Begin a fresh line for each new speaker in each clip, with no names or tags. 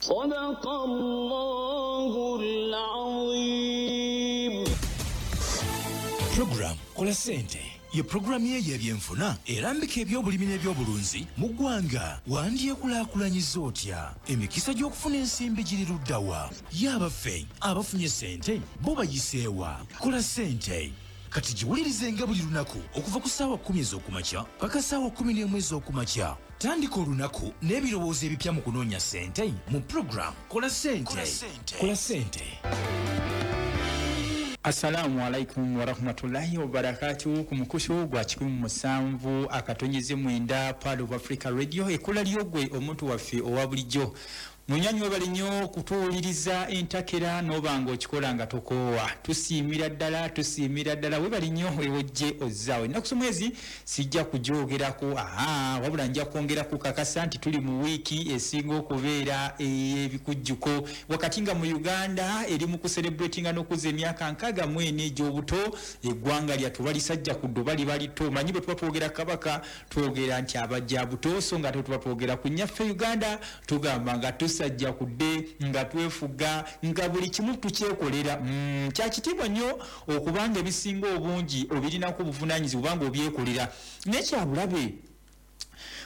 صدق الله العظيم.
Program Kola Ssente ye pulogulaamu ye y'ebyenfuna erambika ebyobulimi n'ebyobulunzi mu ggwanga. Wandyekulaakulanyiza otya? Emikisa gy'okufuna ensimbi giri ludda wa? Ye abaffe abafunye ssente bo bayiseewa? Kola Ssente kati giwulirizenga buli lunaku okuva ku ssaawa 10 ez'okumakya paka ssaawa 11 ez'okumakya. Tandika olunaku n'ebirowoozo ebipya mu kunoonya ssente mu pulogulaamu Kola Ssente. Kola Ssente.
Assalamu alaikum warahmatullahi wabarakatuh. Ku mukutu gwa 107.9 Pearl of Africa Radio, ekkula lyogwe omuntu waffe owa bulijjo. Munywanyi, webale nnyo kutuwuliriza entakera n'oba nga okikola nga tokoowa. Tusiimira ddala, tusiimira ddala, webale nnyo ewojje ozzaawo. Ennaku z'omwezi sijja kugyogerako, aha, wabula nja kwongera kukakasa nti tuli mu wiiki esinga okubeera ey'ebikujjuko, wakati nga mu Uganda eri mu kucelebratinga n'okuzza emyaka 64 egy'obuto. Eggwanga lyattu balisajja ku ddoba liba lito. Manyi bwe tuba twogera Kabaka, twogera nti abajja buto, so nga ate tuba twogera ku nnyaffe Uganda, tugamba nga tusajja kudde, nga twefuga, nga buli kimu tukyekolera. Kyakitiibwa nnyo okubanga ebisinga obungi obirinako obuvunaanyizibwa obanga obyekolera, naye kyabulabe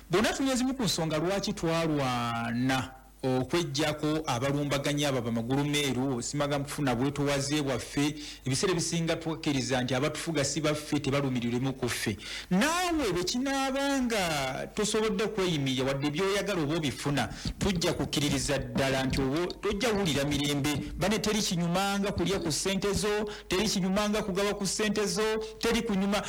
bonna. Tunya ezimu ku nsonga lwaki twalwana okwejjako abalumbaganyi abo bamagulu meeru, simaga kufuna bwetowaze bwaffe. Ebiseera ebisinga tukkiriza nti abatufuga si baffe, tebalumirirwemu ku ffe. Naawe bwe kinaabanga tosobodde kweyimirira wadde byoyagala oba obifuna, tujja kukkiririza ddala nti oba tojja wulira mirembe. Bane, teri kinyumanga kulya ku ssente zo, teri kinyumanga kugaba ku ssente zo, teri kunyuma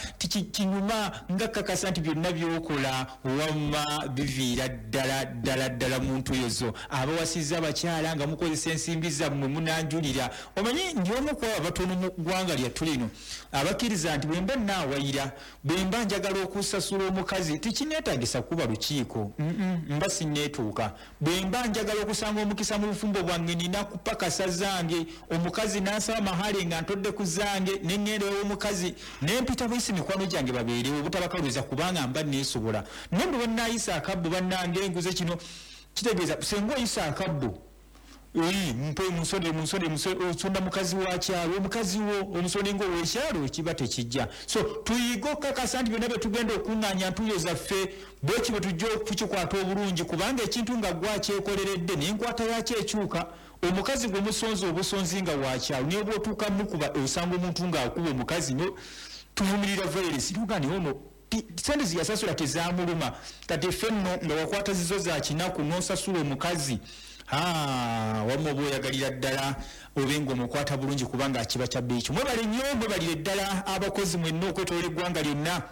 kinyuma nga kakasa nti byonna byokola wamma biviira ddala ddala ddala mu ntuyo zo. Abawasizza abakyala nga mukozesa ensimbi zammwe, munanjulira. Omanyi ndi omu ku abo abatono mu ggwanga lyattu lino abakkiriza nti bwe mba naawayira, bwe mba njagala okusasula omukazi, tekineetagisa kuba lukiiko. Mba sinneetuuka. Bwe mba njagala okusanga omukisa mu bufumbo bwange, nina kupakasa zange. Omukazi n'ansaba mahale nga ntodde ku zange, neŋŋenda ew'omukazi nempita buyisi mikwano gyange babeerewo, obutabakaluza, kubanga mba neesobola. Naye bwe bannaayisa akabbo, bannange enguze kino kitegeeza senga oyisa akabbo, mpe munsonde, munsonde, osonda mukazi wa kyalo, omukazi wo omusonde ngaowekyalo, kiba tekijja. So tuyige okukakasa nti byonna byetugenda okuŋŋaanya ntuyo zaffe, bweki bwe tujja okukikwata obulungi, kubanga ekintu nga gwakyekoleredde n'enkwata yakyo ekyuka. Omukazi gwe musonzi obusonzi nga wakyalo, naye bwotuuka mukuba, osanga omuntu ng'akuba omukazi, no tuvumirira violence, tugane ono sente ziyasasula tezamuluma. Kati ffe nno nga wakwata zizo za kinaku n'osasula omukazi, wamma oba oyagalira ddala obe nga omukwata bulungi, kubanga akiba kya bbeeyi. Mwebale nnyo, mwebalire ddala abakozi mwenna okwetoola eggwanga lyonna.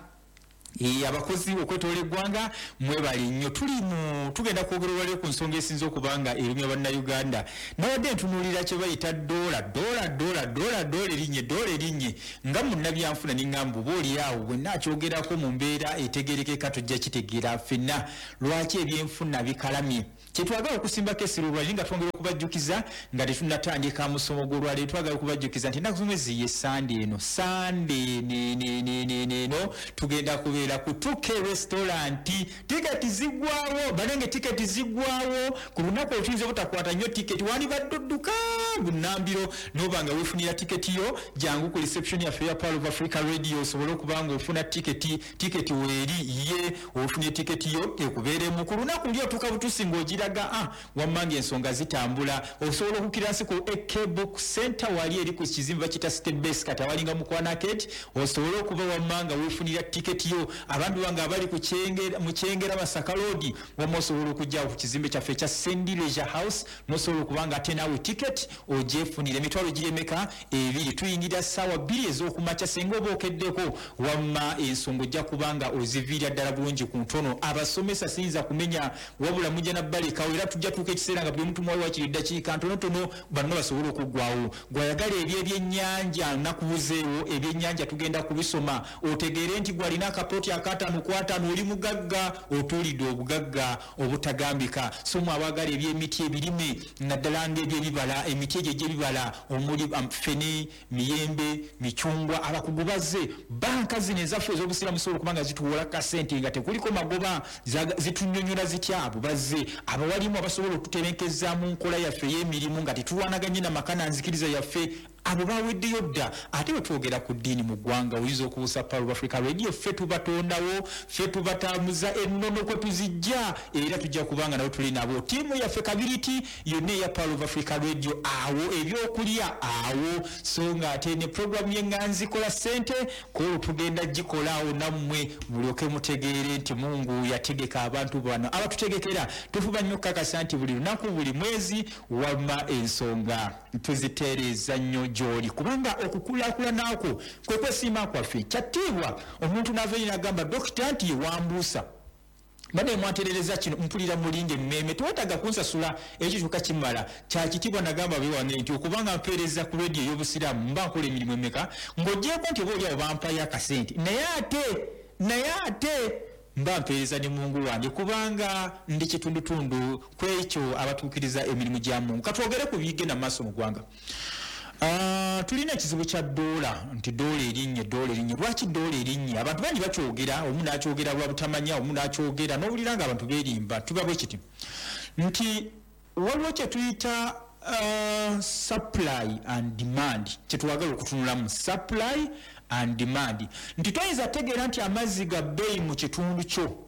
Abakozi okwetoola eggwanga, mwebale nnyo. Tuli mu tugenda kwogera olwaleero ku nsonga esinza okuba nga erumya Bannayuganda. Nabadde ntunuulira kye bayita doola, doola, doola, doola, doola erinnye, doola erinnye, nga munnabyanfuna neŋŋamba oba oli awo bwe naakyogerako mu mbeera etegerekeka tujja kitegeera ffenna lwaki ebyenfuna bikalamye. Kyetwagala okusimbako essira olwaleero, nga twongera okubajjukiza nga tetunnatandika musomo gw'olwaleero, twagala okubajjukiza nti ennaku z'omwezi ye Sande eno, Sande neneneneno, tugenda kubeera ku 2K Restaurant. Tiketi ziggwawo banange, tiketi ziggwawo ku lunaku olwo. Tuyinza obutakwata nnyo tiketi, wandibadde odduka bunambiro noba nga weefunira tiketi yo. Jangu ku reception yaffe ya Pearl of Africa Radio osobole okuba nga ofuna tiketi. Tiketi weeri ye ofunye tiketi yo ekubeeremu ku lunaku luli, otuuka butusi ng'ogiraga, wamma nga ensonga zitambula. Osobola okukira nsi ku AK Book Center, wali eri ku kizimbe bakiyita City Base, kati awalinga Mukwana Arcade, osobole okuba wamma nga weefunira tiketi yo. Abantu bange abali ku mu Kyengera, Masaka Road, wamma osobola okujjawo ku kizimbe kyaffe ekya Sendi Leisure House, nosobola okuba nga ate naawe tiketi ogyefunira. Emitwalo giremeka ebiri. Tuyingira ssaawa 2 ez'okumakya. Senga oba okeddeko, wamma ensonga ojja kuba nga oziviira ddala bulungi ku ntono. Abasomesa siyinza kumenya, wabula mujja nabbalekawo, era tujja tuuka ekiseera nga buli omuntu muwawe wakiri eddakiika ntonotono banno basobole okuggwawo. Gwayagala ebyo ebyennyanja, nakubuzeewo ebyennyanja tugenda kubisoma otegeere nti gwalina akapoopo. poloti akataano ku ataano, oli mugagga, otuulidde obugagga obutagambika. So mwe abaagala ebyemiti ebirime, naddala ng'ebyebibala, emiti egyo egy'ebibala omuli fene, miyembe, micungwa, abakugu bazze. Banka zino ezaffe ez'obusiraamu zisobola okuba nga zituwola kasente nga tekuliko magoba, zitunnyonnyola zitya? Abo bazze. Abawalimu abasobola okututebenkeza mu nkola yaffe ey'emirimu nga tetulwanaganye na maka na nzikiriza yaffe, abo baweddeyo dda. Ate bwe twogera ku ddiini mu ggwanga, oyinza okubuusa Pearl of Africa Radio, ffe tubatondawo, ffe tubatambuza ennono kwe tuzijja, era tujja kubanga nabo tuli nabo. Ttiimu yaffe kabiriti yonna eya Pearl of Africa Radio, awo ebyokulya awo. So nga ate ne puroguramu y'eŋŋanzi kola ssente kwolwo tugenda gikola awo nammwe mulyoke mutegeere nti Mungu yategeka abantu bano abatutegekera. Tufuba nnyo okukakasa nti buli lunaku, buli mwezi, wamma ensonga tuzitereeza nnyo gy'oli, kubanga okukulaakulana kwo kwe kwesiima kwaffe. Kyattiibwa omuntu n'ava eri n'agamba dokita nti ye wambuusa, mbadde mwanterereza kino, mpulira mulinga emmeeme, tewetaaga kunsasula, ekyo kyokka kimala. Kyakitiibwa nagamba bewange nti okubanga mpeereza ku rediyo ey'obusiraamu mba nkola emirimu emeka, ng'ogyeko nti oba oliawo bampayo akasente, naye ate mba mpeereza ne Mungu wange, kubanga ndi kitundutundu ku ekyo abatuukiriza emirimu gya Mungu. Katwogere ku bigenda mu maaso mu ggwanga. Tulina ekizibu kya ddoola, nti ddoola erinnye, ddoola erinnye. Lwaki ddoola erinnye? Abantu bangi bakyogera, omu n'akyogera lwa butamanya, omu n'akyogera n'owulira nga abantu beerimba. Tuba bwe kiti nti waliwo kye tuyita supply and demand, kye twagala okutunulamu, supply and demand, nti toyinza tegeera nti amazzi ga bbeeyi mu kitundu kyo,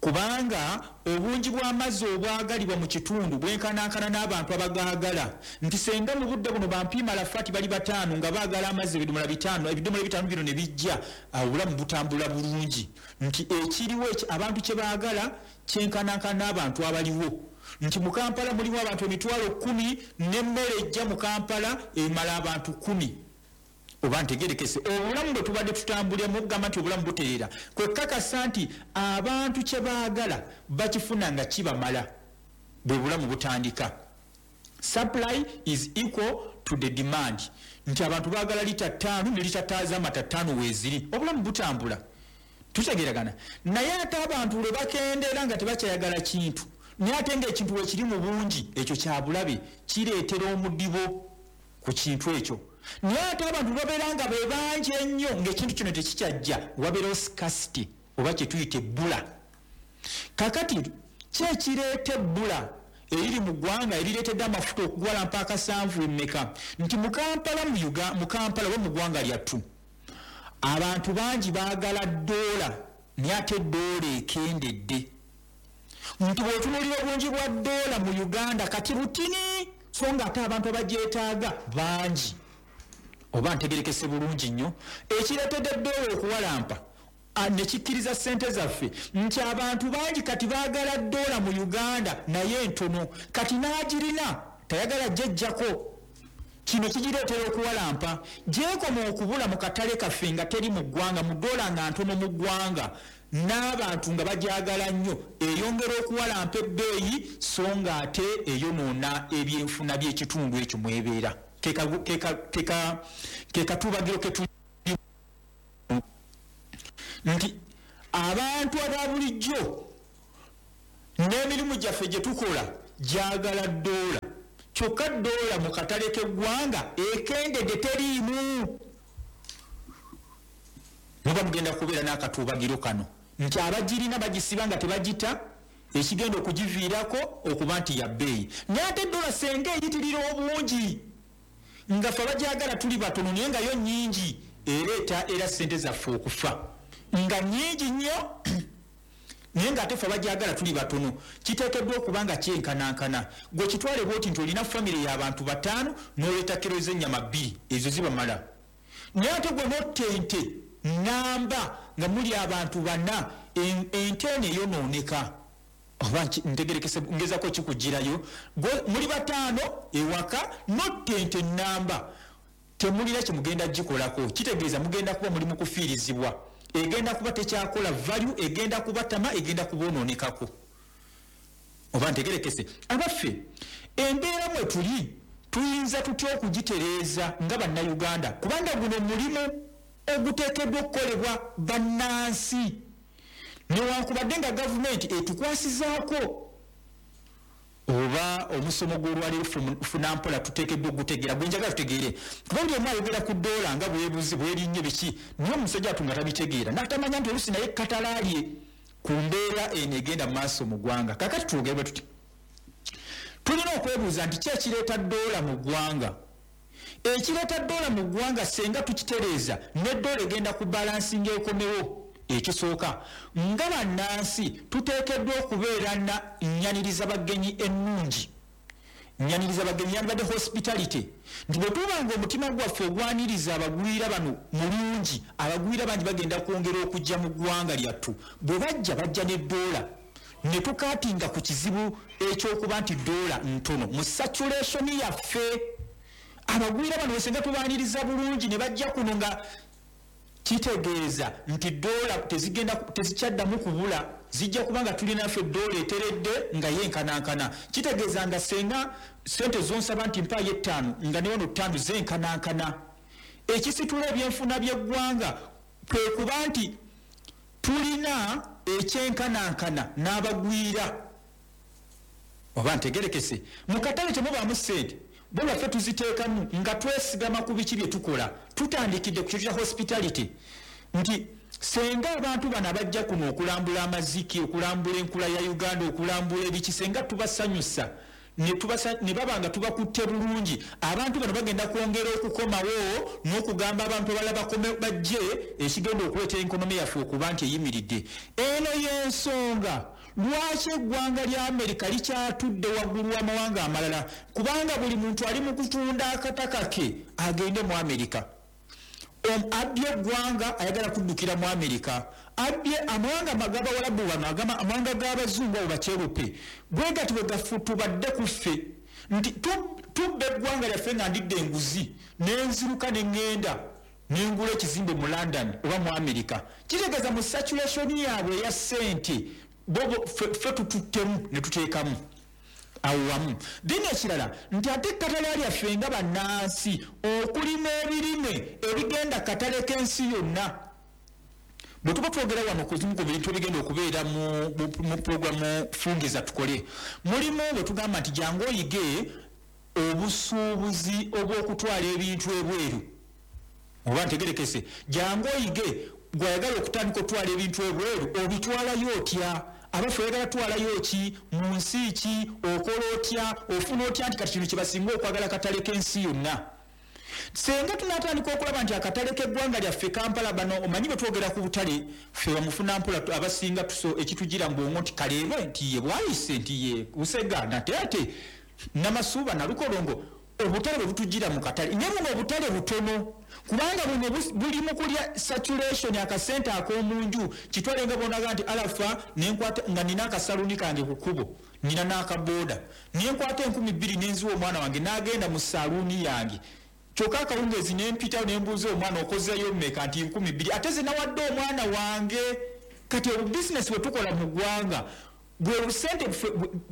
kubanga obungi bw'amazzi obwagalibwa mu kitundu bwenkanankana n'abantu abagaagala. Nti senga mu budde buno bampiima lafaati bali 5 nga baagala amazzi ebidomola 5, ebidomola 5 bino ne bijja, obulamu butambula bulungi. Nti ekiriwo abantu kye baagala kyenkanankana n'abantu abaliwo. Nti mu Kampala mulimu abantu 10,000, n'emmere ejja mu Kampala emala abantu 10. Oba ntegerekese obulamu bwe tubadde tutambuliramu okugamba nti obulamu butereera, kwe kakasa nti abantu kye baagala bakifuna nga kibamala, bwe bulamu butandika. Supply is equal to the demand, nti abantu baagala lita 5 ne lita z'amata 5 weeziri, obulamu butambula, tutegeeragana. Naye ate abantu lwe bakendeera nga tebakyayagala kintu, naye ate ng'ekintu we kiri mu bungi, ekyo kya bulabe, kireetera omudibo ku kintu ekyo. Naye ate abantu babeera nga be bangi ennyo ng'ekintu kino tekikyajja, wabeerawo scarcity oba kye tuyita ebbula. Kakati ki ekireeta ebbula eriri mu ggwanga erireetedde amafuta okugwala mpaaka 7 emmeka? Nti mu Kampala, mu Kampala oba mu ggwanga lyattu, abantu bangi baagala ddoola, naye ate ddoola ekendedde. Nti bw'otunuulira obungi bwa ddoola mu Uganda kati butini, so nga ate abantu abagyetaaga bangi. Oba ntegerekese bulungi nnyo, ekireetedde ddoola okuwalampa ne kikkiriza ssente zaffe nti abantu bangi kati baagala ddoola mu Uganda naye ntono, kati n'agirina tayagala gyejjako. Kino kigireetera okuwalampa. Gyekoma okubula mu katale kaffe nga teri mu ggwanga, mu ddoola nga ntono mu ggwanga, n'abantu nga bagyagala nnyo, eyongera okuwalampa ebbeeyi, so nga ate eyonoona ebyenfuna by'ekitundu ekyo mwebeera. Ke katubagiro ke tuli nti abantu aba bulijjo n'emirimu gyaffe gye tukola gyagala ddoola, kyokka ddoola mu katale k'eggwanga ekendedde, teriimu. Muba mugenda kubeera n'akatuubagiro kano nti abagirina bagisiba nga tebagita, ekigenda okugiviirako okuba nti ya bbeeyi. Naye ate ddoola senga eyitirira obungi nga ffe abagyagala tuli batono, naye nga yo nnyingi, ereeta era ssente zaffe okufa nga nnyingi nnyo, naye ng'ate ffe abagyagala tuli batono. Kiteekeddwa okuba nga kyenkanankana. Gwe kitwale bw'oti nti olina famire y'abantu 5 n'oleeta kiro z'ennyama 2, ezo zibamala. Naye ate gwe n'otta ente namba nga muli abantu 4, ente eno eyonooneka. Oba ntegerekese, ngezaako kikugirayo. Gwe muli 5 ewaka n'otta ente namba, temulina kye mugenda gikolako, kitegeeza mugenda kuba muli mu kufiirizibwa, egenda kuba tekyakola value, egenda kubatama, egenda kubonoonekako. Oba ntegerekese, abaffe embeera mwe tuli tuyinza tutya okugitereeza nga bannayuganda? Kubanga guno mulimu oguteekeddwa okukolebwa bannansi, newankubadde nga gavumenti etukwasizaako oba omusomo gw'olwaleero funampola tuteekeddwa okugutegeera. Gwe njagala tutegeere, kuba buli omu ayogera ku ddoola nga bwebuzi bwerinnye biki, naye omusajja atu nga tabitegeera n'atamanya nti oluusi naye katalaalye ku mbeera eno egenda mu maaso mu ggwanga. Kakati twogere bwe tuti, tulina okwebuuza nti ki ekireeta ddoola mu ggwanga? Ekireeta ddoola mu ggwanga senga tukitereeza, n'eddoola egenda ku balansinga ekomewo. Ekisooka, nga bannansi tuteekeddwa okubeera na nnyaniriza bagenyi ennungi. Nnyaniriza bagenyi yandibadde hospitality, nti bwe tuba nga omutima gwaffe ogwaniriza abagwira bano mulungi, abagwira bangi bagenda kwongera okujja mu ggwanga lyattu. Bwe bajja, bajja n'eddoola, ne tukaatinga ku kizibu ekyokuba nti ddoola ntono mu saturation yaffe. Abagwira bano wesenga tubaaniriza bulungi ne bajja kuno, nga kitegeeza nti ddoola tezigenda tezikyaddamu kubula, zijja kuba nga tulina ffe ddoola eteredde nga yenkanankana. Kitegeeza nga senga sente zonsaba nti mpaayo 5, nga ne wano 5 zenkanankana. Ekisitula ebyenfuna by'eggwanga kwe kuba nti tulina ekyenkanankana n'abagwira. Oba ntegerekese, mu katale temubaamu ssente, bo lwaffe tuziteekamu nga twesigama ku biki bye tukola. Tutandikidde ku kintu kya hospitality, nti senga abantu bano abajja kuno okulambula amaziki, okulambula enkula ya Uganda, okulambula ebiki, senga tubasanyusa ne baba nga tubakutte bulungi, abantu bano bagenda kwongera okukomawo n'okugamba abantu abalala bakome bajje, ekigenda okuleeta enkonomi yaffe okuba nti eyimiridde. Eno y'ensonga lwaki eggwanga lya Amerika likyatudde waggulu w'amawanga amalala, kubanga buli muntu ali mu kutunda akataka ke agende mu Amerika. Abbye eggwanga ayagala kuddukira mu Amerika, abbye amawanga g'Abawalabu bano, amawanga g'Abazungu abo bakyerupe, bwe gati bwe gafutubadde ku ffe nti tubba eggwanga lyaffe nga ndidde enguzi nenziruka ne ŋŋenda nengula ekizimbe mu London oba mu Amerika. Kitegeeza mu saturation yaabwe eya ssente bobo ffe tututtemu ne tuteekamu awo wamu. Then ekirala nti ate ekkatala lyaffe nga bannansi okulima ebirime ebigenda katale k'ensi yonna. Bwe tuba twogera wano ku zimu ku bintu ebigenda okubeera mu puroguramu Fungiza Tukole, mulimu bwe tugamba nti jangu oyige obusuubuzi obw'okutwala ebintu ebweru. Oba ntegerekese, jangu oyige gw'ayagala okutandika okutwala ebintu ebweru, obitwalayo otya? Abaffe oyagala twalayo ki? Mu nsi ki? Okola otya? Ofuna otya nti kati kino kye basinga okwagala katale k'ensi yonna? Senga tunatandika okulaba nti akatale k'eggwanga lyaffe Kampala, bano omanyi bwe twogera ku butale ffe bamufuna mpola abasinga tuso ekitugira mu bwongo nti kaleerwe nti ye Bwayise nti ye Busega Nateete Namasuba Nalukolongo, obutale bwe butugira mu katale. Naye buno obutale butono, kubanga buno buli mu kulya saturation akasente ak'omunju. Kitwale nga bonaga nti alafa nenkwata nga nina akasaluni kange ku kkubo, nina n'akabooda, nenkwata 2000 nenziwa omwana wange n'agenda mu saluuni yange, kyokka akawungeezi nempitawo nembuuza omwana okozeeyo mmeka nti 2000, ate ze nawadde omwana wange. Kati obubizinesi bwe tukola mu ggwanga bwe sente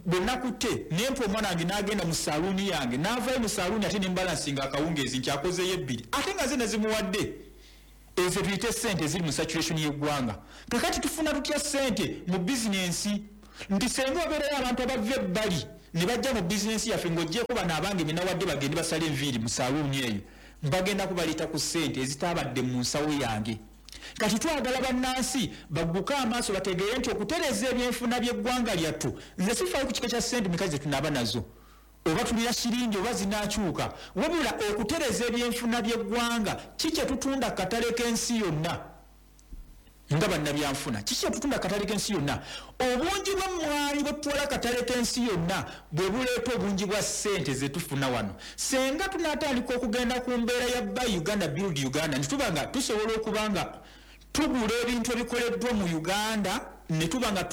bwe nakutte nempa omwana wange n'agenda mu saluuni yange, n'avaayo mu saluuni ate nembalansinga akawungeezi nti akozeeyo 2, ate nga ze nazimuwadde. Ezo tuyite sente eziri mu saturation y'eggwanga. Kakati tufuna tutya sente mu bizinensi? Nti senga obeerayo abantu abava ebbali ne bajja mu bizinensi yaffe, ng'oggyeko bano abange be nawadde bagende basale enviiri mu saluuni eyo, bagenda kubaleeta ku ssente ezitaabadde mu nsawo yange. Kati twagala bannansi bagguke amaaso bategeere nti okutereeza ebyenfuna by'eggwanga lyattu, nze sifaayo ku kika kya ssente meka ze tunaaba nazo, oba tulira shiringi oba zinaakyuka, wabula okutereeza ebyenfuna by'eggwanga ki kye tutunda katale k'ensi yonna nga bannabyanfuna, kiki kye tutunda katale k'ensi yonna. Obungi bw'emmwanyi bwe tutwala katale k'ensi yonna bwe buleeta obungi bwa ssente ze tufuna wano. Senga tunaatandika okugenda ku mbeera ya Buy Uganda Build Uganda, nti tuba nga tusobola okuba nga tugula ebintu ebikoleddwa mu Uganda, ne tuba nga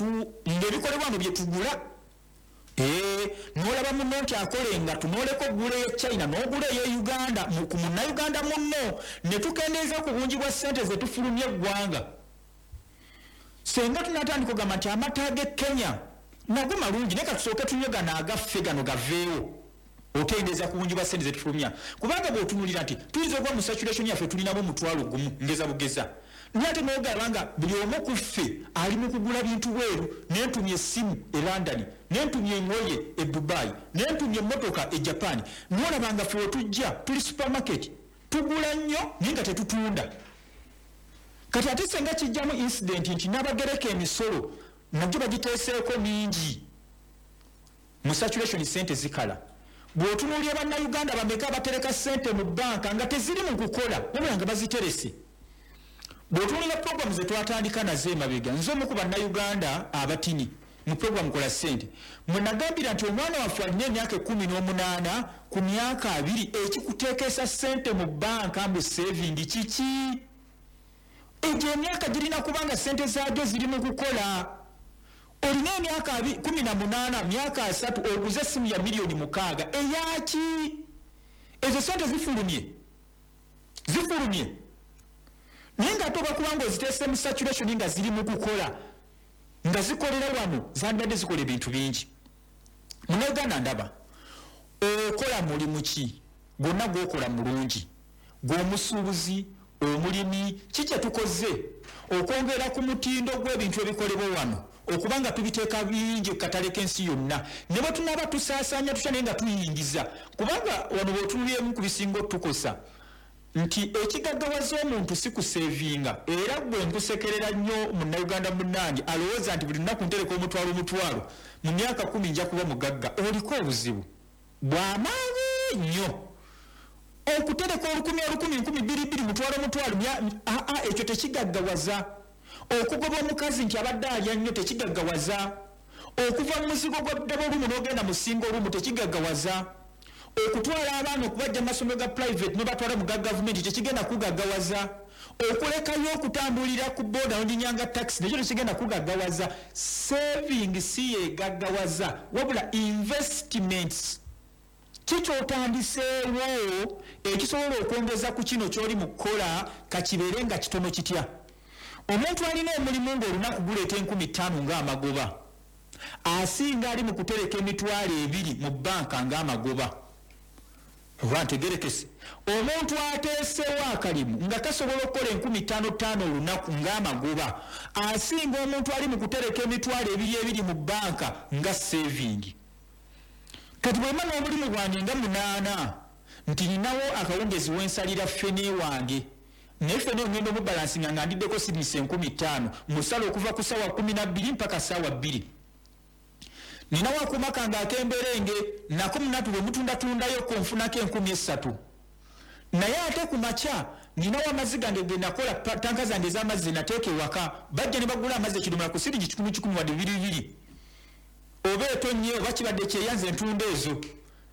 ng'ebikolebwa wano bye tugula. N'olaba munno nti akola engatto, n'oleka okugula ey'e China n'ogula ey'e Uganda ku munnayuganda munno, ne tukendeeza ku bungi bwa ssente ze tufulumya eggwanga. Senga tunatandika okugamba nti amata g'e Kenya nago malungi, naye katusooke tunywe gano agaffe gano gaveewo. Okendeeza ku bungi bwa ssente zetufulumya, kubanga bw'otunuulira nti tuyinza okuba mu saturation yaffe tulinamu 1,000 ngeza bugeza, naye ate n'ogamba nga buli omu ku ffe ali mu kugula bintu bweru. Nentumya essimu e London, nentumya engoye e Dubai, nentumya emmotoka e Japan, n'olaba nga ffe wetujja tuli supermarket, tugula nnyo naye nga tetutunda. Kati ate senga kijjamu incident nti n'abagereka emisolo nagyo bagiteeseeko mingi mu saturation, sente zikala. Bw'otunuulira Bannayuganda bameka abatereka ssente mu banka nga teziri mu kukola, wabula nga baziterese? Bw'otunuulira programu ze twatandika nazo emabega, nze omu ku Bannayuganda abatini mu programu Kola Ssente, mwe nagambira nti omwana waffe alina emyaka 18 ku myaka 20, ekikuteekesa ssente mu banka mbu saving kiki? Egyo emyaka girina kubanga ssente zaagyo ziri mu kukola. Olina emyaka 18, myaka 30, oguze essimu ya miliyoni 6, eyaki? Ezo sente zifulumye, zifulumye, naye nga ate oba kubanga oziteese mu saturation nga ziri mu kukola, nga zikolera wano, zandibadde zikola ebintu bingi. Munauganda, ndaba okola mulimu ki gwonna gwokola mulungi, gw'omusuubuzi, omulimi, ki kye tukoze okwongera ku mutindo gw'ebintu ebikolebwa wano, okubanga tubiteeka bingi ku katale k'ensi yonna, ne bwe tunaaba tusaasaanya tutya, naye nga tuyingiza? Kubanga wano bw'otunulyemu ku bisinga otukosa nti ekigaggawaza omuntu si kusevinga. Era gwe nkusekerera nnyo Munnayuganda munnange alowooza nti buli lunaku ntereka omutwalo omutwalo, mu myaka 10 nja kuba mugagga. Oliko obuzibu bw'amaanyi nnyo. Okutereka olukumi olukumi, 2000 2000, mutwalo mutwalo, aa, ekyo tekigaggawaza. Okugoba omukazi nti abadde alya nnyo tekigaggawaza. Okuva mu muzigo gwa double room n'ogenda mu single room tekigaggawaza. Okutwala abaana okubajja mu masomero ga private nobatwala mu ga gavumenti tekigenda kugaggawaza. Okulekayo okutambulira ku boda nodinyanga taxi nekyo tekigenda kugaggawaza. Saving si yegaggawaza, wabula investments. Kikyotandiseewo ekisobola okwongeza ku kino kyoli mu kukola, kakibeere nga kitono kitya. Omuntu alina omulimu ng'olunaku guleeta 5000 ng'amagoba, asinga ali mu kutereka 20,000 mu banka ng'amagoba. Oba ntegerekese? Omuntu ateesewo akalimu nga kasobola okukola 5000 5000 olunaku ng'amagoba, asinga omuntu ali mu kutereka 20,000 2000 mu banka nga saving. Kati bwema n'obulimu bwange nga munaana, nti ninawo akawungezi wensalira ffene wange, naye ffene ngenda omubalansinga nga ndiddeko sirinisa 5000, musala okuva ku ssaawa 12 mpaka ssaawa 2. Ninawo akuuma kange ak'emberenge, nako munatu bwe mutundatundayo nfunako 3000. Naye ate ku makya ninawo amazzi gange ge nakola, tanka zange ez'amazzi zenateeka ewaka, bajja ne bagula amazzi ekidomola ku siringi 100 100, wadde 2 2, oba etonye oba kibadde kyeyanze, entunda ezo.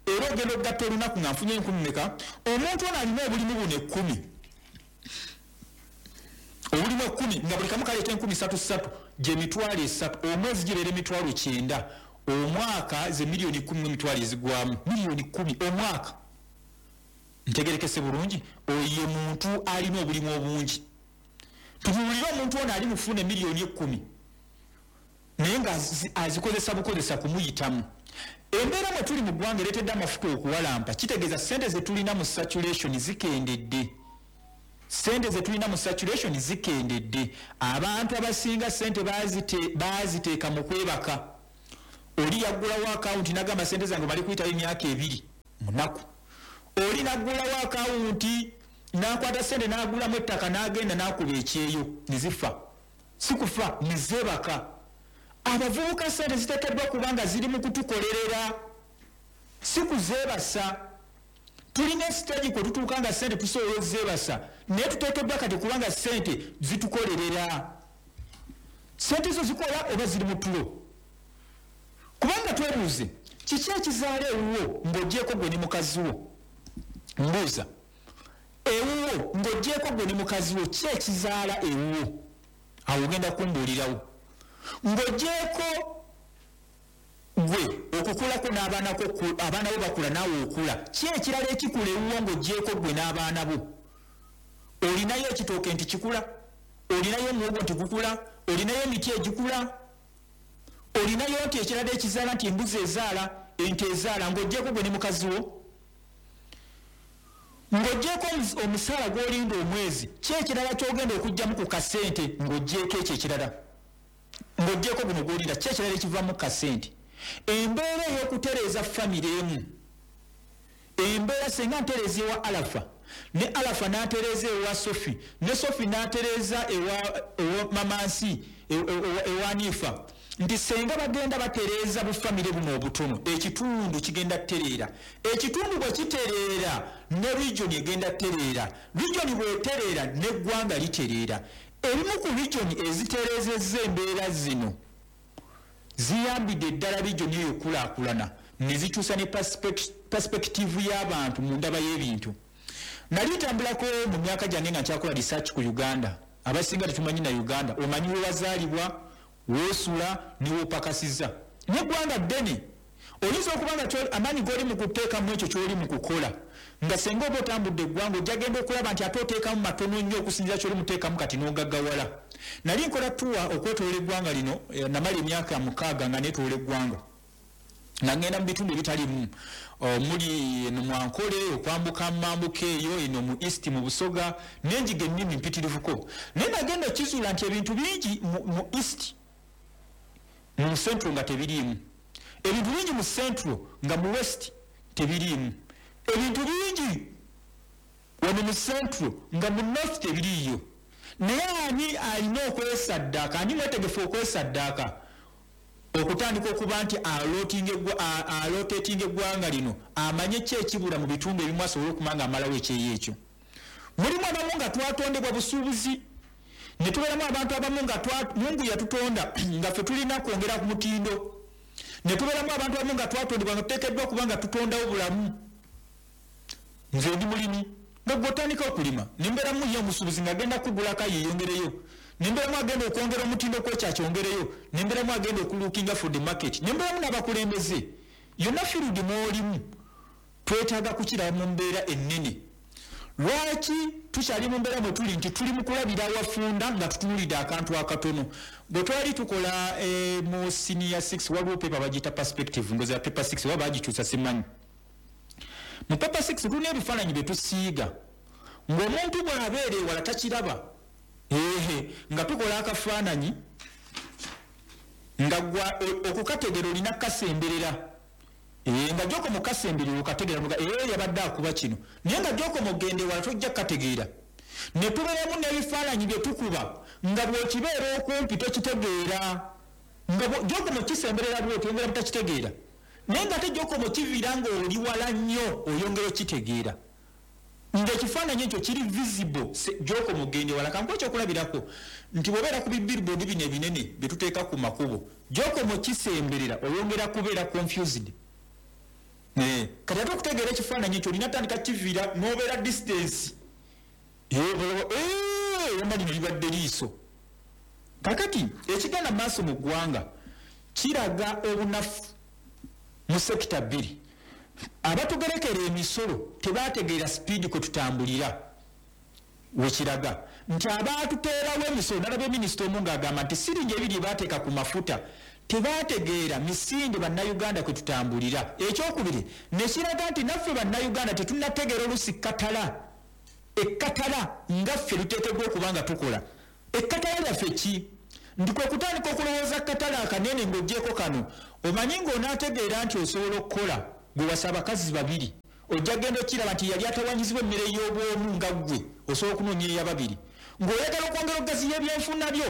Era ogenda okugatta olunaku nga nfunye enkumi meka? Omuntu ono alina obulimu buno 10, obulimu 10, nga buli kamu kaleeta 3000 3000, gye 30,000 omwezi, gibeera 90,000. Omwaka ze miliyoni 10 emitwalo ezigwamu, miliyoni 10 omwaka. Ntegerekese bulungi? Oyo muntu alina obulimu obungi. Tutuulire omuntu ono ali mufuna emiliyoni 10, naye nga azikozesa bukozesa kumuyitamu. Embeera mwe tuli mu ggwanga ereetedde amafuta okuwalampa. Kitegeeza sente zetulina mu saturation zikendedde, sente zetulina mu saturation zikendedde. Abantu abasinga sente baziteeka mu kwebaka. Oli yaggulawo akawunti nagamba, "Sente zange bali kuyitayo emyaka 2 munaku." Oli naggulawo akawunti nakwata sente nagulamu ettaka, nagenda nakuba ekyeyo nezifa, si kufa nezebaka. Abavubuka, sente ziteekeddwa kubanga ziri mu kutukolerera, si kuzeebasa. Tulina stage kwe tutuuka nga sente tusobola ozeebasa, naye tuteekeddwa kati kubanga sente zitukolerera. Sente zo zikola oba ziri mu tulo? Kubanga twebuuze, kiki ekizaala ewuwo ng'ogyeko gwe ne mukazi wo? Mbuuza, ewuwo ng'ogyeko gwe ne mukazi wo, ki ekizaala ewuwo? Awo ogenda kumbuulirawo. Ng'ogyeko gwe okukulako n'abaanako, abaana bo bakula, naawe okula, ki ekirala ekikula ewuwo ng'ogyeko gwe n'abaana bo? Olinayo ekitooke nti kikula? Olinayo omuwogo nti gukula? Olinayo emiti egikula? Olinayo nti ekirala ekizaala, nti embuzi ezaala, ente ezaala, ng'ogyeko gwe ne mukazi wo? Ng'ogyeko omusaala gw'olinda omwezi, ki ekirala ky'ogenda okugyamu ku kasente? Ng'ogyeko ekyo ekirala, ng'ogyeko guno gw'olinda, ki ekirala ekivamu kasente? Embeera ey'okutereeza famire emu, embeera senga ntereeza ewa Alafa, ne Alafa n'atereeza ewa Sofi, ne Sofi n'atereeza ewa Mamansi, ewa Nifa, nti senga bagenda batereeza bufamire buno obutono, ekitundu kigenda kutereera. Ekitundu bwe kitereera, ne region egenda kutereera. Region bw'etereera, n'eggwanga litereera. Ebimu ku region ezitereezezza embeera zino ziyambidde ddala region eyo okulaakulana, ne zikyusa ne perspective y'abantu mu ndaba y'ebintu. Nali ntambulako mu myaka gyange nga nkyakola research ku Uganda. Abasinga tetumanyi na Uganda. Omanyi we wazaalibwa, woosula, ne woopakasiza. N'eggwanga ddene, oyinza okuba nga amaanyi g'oli mu kuteekamu ekyo ky'oli mu kukola, nga senga oba otambudde eggwanga, ojja genda okulaba nti ate oteekamu matono nnyo okusinziira ky'oli muteekamu kati n'ogaggawala. Nali nkola tour okwetoola eggwanga lino. Namala emyaka 6 nga neetoola eggwanga, nga ngenda mu bitundu ebitalimu, omuli eno Mwankole, okwambuka mambuka eyo eno mu East, mu Busoga, nenjiga ennimi mpitirivuko. Naye nagenda okizuula nti ebintu bingi mu East, mu Central nga tebiriimu, ebintu bingi mu Central nga mu West tebiriimu, ebintu bingi wano mu Central nga mu North tebiriiyo. Naye ani alina okwesaddaaka? Ani mwetegefu okwesaddaaka okutandika okuba nti alotatinga eggwanga lino, amanye ki ekibula mu bitundu ebimu, asobole okuba nga amalawo ekyeyo ekyo? Mulimu abamu nga twatondebwa busuubuzi, ne tubeeramu abantu abamu nga Mungu yatutonda nga ffe tulina kwongera ku mutindo, ne tubeeramu abantu abamu nga twatondebwa nga tuteekeddwa okuba nga tutondawo bulamu. Nze ndi mulimi, nga gwe otandika okulima, nembeeramu ye omusuubuzi ng'agenda kugulako yeeyongereyo, nembeeramu agenda okwongera omutindo kwekyakyongereyo, nembeeramu agenda okulookinga for the market, nembeeramu n'abakulembeze. Yonna field mwolimu, twetaaga kukiraba mu mbeera ennene. Lwaki tukyali mu mbeera mwe tuli nti tuli mu kulabira awafunda nga tutunulidde akantu akatono? Bwe twali tukola mu senior 6, waliwo paper bagiyita perspective, ndoza paper 6 oba bagikyusa simanyi. Mu paper 6 tulina ebifaananyi bye tusiiga ng'omuntu bw'abeera ewala takiraba. Ehe, nga tukola akafaananyi nga gwa okukategeera olina kukasemberera, nga gy'okoma okasemberera okategeera, nga yabadde akuba kino, naye nga gy'okoma ogenda ewala tojja kukategeera. Ne tubeeramu n'ebifaananyi bye tukuba nga bw'okibeera okumpi tokitegeera, nga gy'okoma okisemberera bw'oti oyongera butakitegeera, naye nga ate gy'okoma okiviira ng'oli wala nnyo oyongera okitegeera, ng'ekifaananyi ekyo kiri visible gy'okoma ogenda ewala. Kankuwe ekyokulabirako nti bw'obeera ku bibillboard bino ebinene bye tuteeka ku makubo, gy'okoma okisemberera oyongera kubeera confused. Kati ate okutegeera ekifaananyi ekyo olina tandika kiviira n'obeera distance, yonna lino libadde liiso. Kakati ekigenda maaso mu ggwanga kiraga obunafu mu sector bbiri. Abatugerekera emisolo tebategeera speed kwe tutambulira. Wekiraga nti abaatuteerawo emisolo, nalabye minisita omu ng'agamba nti siringi 2 baateeka ku mafuta, tebategeera misinde bannayuganda kwe tutambulira. Ekyokubiri nekiraga nti naffe bannayuganda tetunnategeera olusi katala, ekkatala nga ffe luteekeddwa okuba nga tukola. Ekkatala lyaffe ki? Nti kwe kutandika okulowooza katala akanene ng'oggyeko kano. Omanyi ng'onaategeera nti osobola okukola gwe wasa abakazi babiri, ojja genda okiraba nti yali atawanyizibwa emmere y'obwomu nga ggwe osobola okunoonya eyababiri, ng'oyagala okwongera okugaziya ebyenfuna byo.